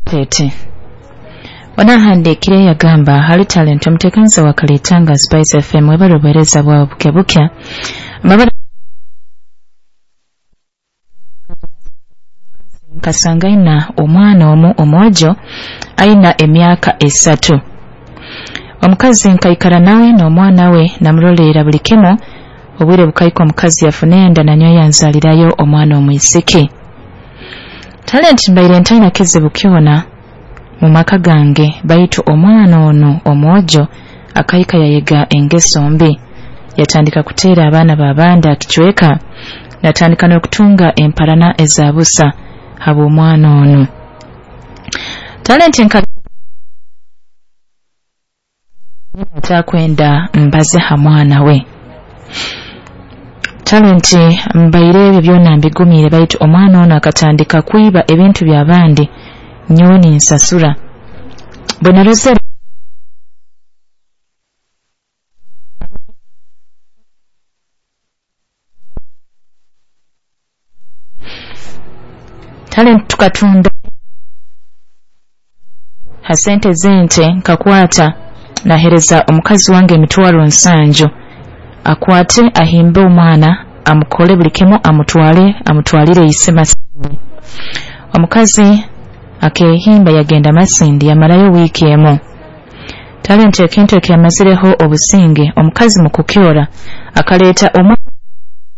Tete onahandiikire yagamba hali Talent omuteekaniza wa Kalitanga Spice FM, webale obuheereza bwawe bukya bukya. Mbabara nkasanga aina omwana omu omwojo aina emyaka 3. Omukazi nkaikara nawe n'omwana we namuroleera buli kimu. Obwire bukaika omukazi yafuna enda, nanyowe yanzaalirayo omwana omwisiki. Talent mbaire ntaina kizibu kyona mu maka gange, baitu omwana onu omwojo akaika yayega engeso mbi, yatandika kuteera abaana b'abandi akicweka, natandika n'okutunga emparana eza busa habw'omwana onu. Talent nka atakwenda mbaze ha mwana we. Talent mbaire ebyo byona mbigumiire, baitu omwana onu akatandika kwiba ebintu by'abandi nyowe ninsasura. Bwe narozere Talent tukatunda ha sente z'ente, nkakwata nahereza omukazi wange 700,000 akwate ahimbe omwana, amukole buli kimu, amutwale amutwalire ise Masindi. Omukazi akehimba yagenda Masindi, yamarayo wiiki emu. Talent ekintu ekyamazireho obusinge, omukazi mu kukyora akaleeta omwana